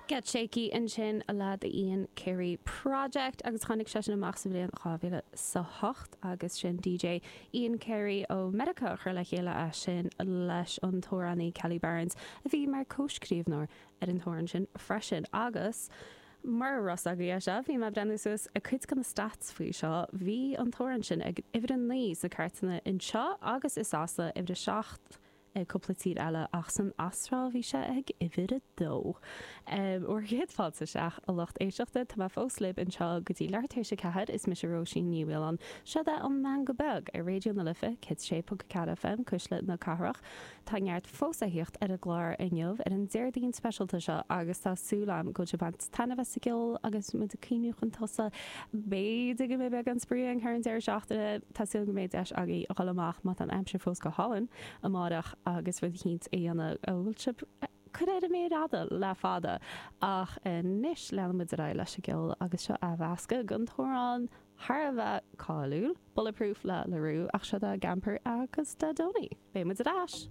Get Shaky ansin le The Ian Carey Project agus tháinig sé sin amach sa bhliain 2008 agus sin DJ Ian Carey ó Meiriceá a chuir le chéile é sin leis an t-amhránaí Kelly Barnes a bhí mar comhscríbhneoir ar an t-amhrán sin freisin agus mura raibh a fhios agaibh é seo bhí mé ag breathnú suas ag cuid de na stats faoi seo bhí an t-amhrán sin ag uimhir 9 sna cairteanna anseo agus i Sasana uimhir 7 i gcúpla tír eile ach san Astráil bhí sé ag uimhir a dó. Bhur gcéad fáilte isteach, a lucht éisteachta, tá mé fós libh anseo go dtí leathuair tar éis a ceathair, is mise Róisín Ní Mhaoláin, seo é an Meangadh Beag ar Raidió na Life 106.4 FM, Cuisle na Cathrach. Tá neart fós a thíocht ar an gclár inniu, ar an Déardaoin speisialta seo agus tá súil agam go bhfuil sibh ag baint taitneamh as an gceol agus muid ag cuimhniú chun tosaigh. B'fhéidir go mbeidh beagán spraoi againn thar an deireadh seachtaine. Tá súil go mbeidh deis agaibh a dhul amach má tá an aimsir fós go hálainn amáireach agus rud eicínt a dhéanamh a bhfuil sibh curtha ar an méar fhada le fada. Ach anois leanann muid ar aghaidh leis an gceol agus seo athmheascadh den t-amhrán thar a bheith cáiliúil, Bulletproof le La Roux ach seo é Gamper agus Dodoni. Beidh muid ar ais!